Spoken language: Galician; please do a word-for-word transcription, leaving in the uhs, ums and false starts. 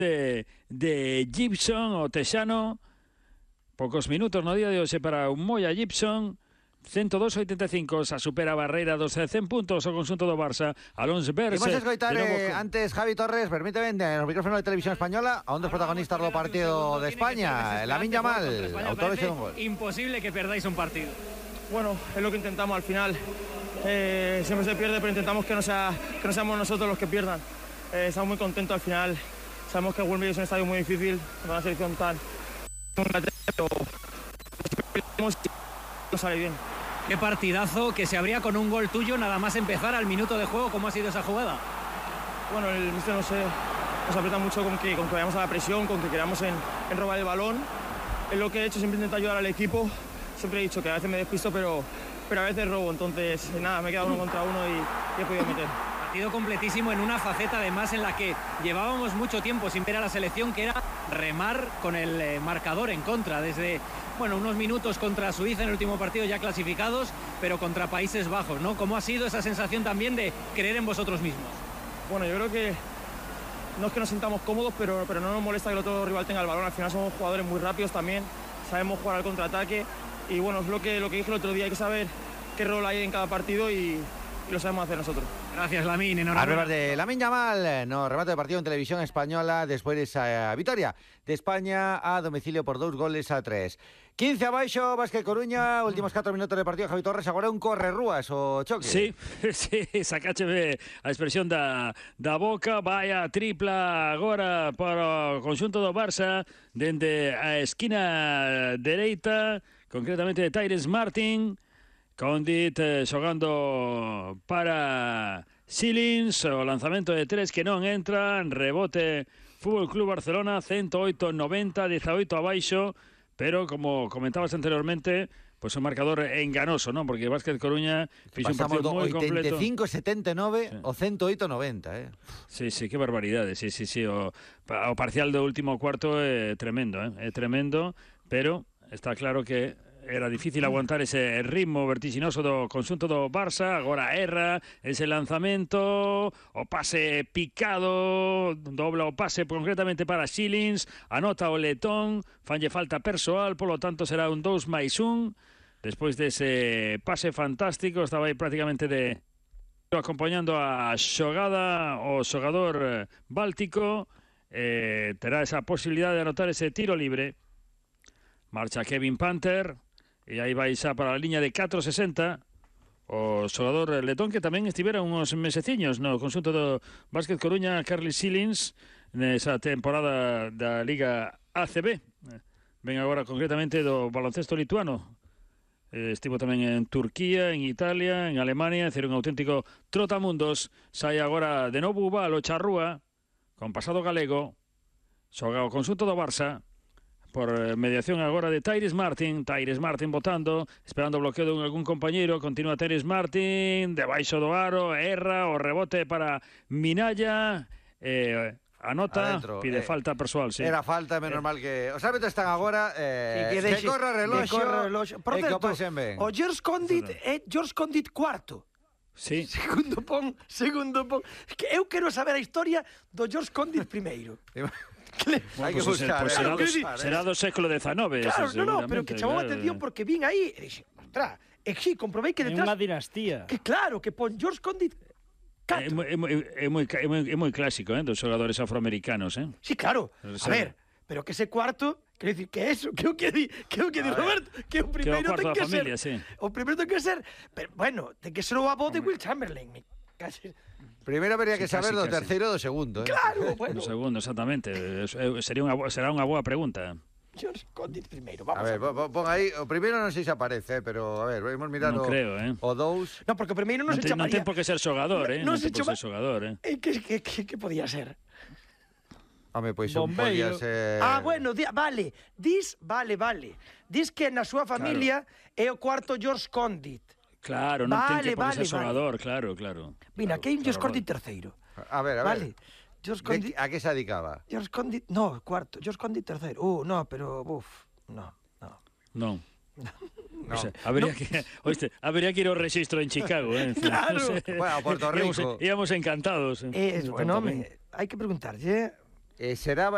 de, de Gibson o Texano. Pocos minutos no día de hoxe para un Moya Gibson. ciento dos a oitenta e cinco, xa supera a barreira dos cen puntos o conxunto do Barça. Alonso Berse. Imos escoitar eh, antes Javi Torres, permíteme, nos micrófonos de Televisión Española, a un dos protagonistas do partido de España, Lamine Yamal, autor de un gol. Imposible que perdáis un partido. Bueno, es lo que intentamos al final. Eh, siempre se pierde, pero intentamos que no, sea, que no seamos nosotros los que pierdan. Eh, estamos muy contentos al final. Sabemos que Wembley es un estadio muy difícil, con una selección tan... pero no sale bien. Qué partidazo, que se abría con un gol tuyo nada más empezar al minuto de juego. ¿Cómo ha sido esa jugada? Bueno, el míster no sé, nos aprieta mucho con que, con que vayamos a la presión, con que queramos en, en robar el balón. Es lo que he hecho, siempre intento ayudar al equipo. Siempre he dicho que a veces me despisto, pero, pero a veces robo. Entonces, nada, me he quedado uno contra uno y, y he podido meter. Partido completísimo en una faceta además en la que llevábamos mucho tiempo sin ver a la selección, que era remar con el eh, marcador en contra desde, bueno, unos minutos contra Suiza en el último partido ya clasificados, pero contra Países Bajos, ¿no? ¿Cómo ha sido esa sensación también de creer en vosotros mismos? Bueno, yo creo que no es que nos sintamos cómodos, pero, pero no nos molesta que el otro rival tenga el balón. Al final somos jugadores muy rápidos también, sabemos jugar al contraataque y bueno, es lo que, lo que dije el otro día, hay que saber qué rol hay en cada partido y... y lo sabemos hacer nosotros. Gracias, Lamine. Enhorabuena. Arriba de Lamine Yamal, no, remate de partido en Televisión Española después de esa victoria de España a domicilio por dos goles a tres. quince abaixo, Básquet Coruña, últimos cuatro minutos de partido, Javi Torres, agora un corre-rúas o choque. Sí, sí, sacácheme a expresión da, da boca, vai a tripla agora para o conxunto do Barça, dende a esquina dereita, concretamente de Tyrese Martin. Condit eh, xogando para Silins, o lanzamento de tres que non entra, rebote Fútbol Club Barcelona, ciento oito noventa, dieciocho abaixo, pero como comentabas anteriormente, pues un marcador enganoso, ¿no? Porque Básquet Coruña fixo un partido moi completo. oitenta e cinco setenta e nove sí. O ciento oito noventa, eh. Sí, sí, qué barbaridade, sí, sí, sí, o, o parcial do último cuarto é tremendo, eh? É tremendo, pero está claro que era difícil aguantar ese ritmo vertiginoso do conxunto do Barça. Agora erra ese lanzamento, o pase picado, dobla o pase concretamente para Silins, anota o letón, fanlle falta persoal, polo tanto será un dos máis un. Despois dese pase fantástico, estaba aí prácticamente de acompañando a xogada o xogador báltico, eh, terá esa posibilidade de anotar ese tiro libre. Marcha Kevin Panther, e aí vai xa para a liña de catro sesenta o xogador letón, que tamén estivera uns meseciños no conxunto do Básquet Coruña, Carly Silins, nesa temporada da Liga A C B. Ven agora concretamente do baloncesto lituano. Estivo tamén en Turquía, en Italia, en Alemania, é dicir, un auténtico trotamundos. Sai agora de novo Ubal, o Charrúa, con pasado galego, xoga o conxunto do Barça, por mediación agora de Tyrese Martin. Tyrese Martin botando, esperando o bloqueo de algún compañeiro. Continúa Tyrese Martin, debaixo do aro, erra, o rebote para Minaya, eh, anota, adentro, pide eh, falta persoal, sí. Era falta, menos eh. mal que... Os árbitros están agora, eh, que, que, que corra reloxo, por certo, o George Condit é George Condit cuarto. Sí. Segundo pon, segundo pon. Que eu quero saber a historia do George Condit primeiro. Bueno, hai que buscar, pues, eh. será, do, será do século diecinueve. Claro, ese, no, no, pero que chamou a atención porque vin aí e dixe, ostras, e sí, comprobei que detrás... É unha dinastía. Que claro, que pon George Condit É moi, é, moi, é, moi, é, moi, é moi clásico, eh, dos xogadores afroamericanos, eh? Sí, claro. A ver, pero que ese cuarto, quero dicir, que eso, que o que di, que o que di Roberto, que o primeiro ten que familia, ser. Sí. O primeiro ten que ser, pero bueno, ten que ser o avó de Will Chamberlain, me casi. Primeiro habería que sí, saber casi, do casi. terceiro e do segundo, eh. Claro, bueno. Do segundo, exactamente. Sería unha, será unha boa pregunta. George Condit primeiro, vamos a ver. A ver, pon aí, o primeiro non sei se aparece, pero a ver, vamos mirar non o, creo, eh. o dous. No, porque o primeiro non, non se chamaría. Non ten por que ser xogador, eh. Non, non se ten por ser xogador, eh. Eh, que, que, que, que podía ser? Home, pois un podía ser... Ah, bueno, di, vale, dis, vale, vale. Dis que na súa familia claro. É o cuarto George Condit. Claro, non vale, ten que por vale, ser xogador, vale. claro, claro. Mira, claro, que hai un George claro, Condit terceiro. A ver, a ver. Vale. George Condit... A que se dedicaba? George Condit, no, cuarto. George Condit terceiro. Uh, no, pero, uf, no, no. Non. No. O sea, habría no. que, oíste, habría que ir ao registro en Chicago, eh. Claro. No sé. Bueno, a Puerto Rico. Íamos, íamos encantados. Eh, bueno, me, hai que preguntarlle. eh, será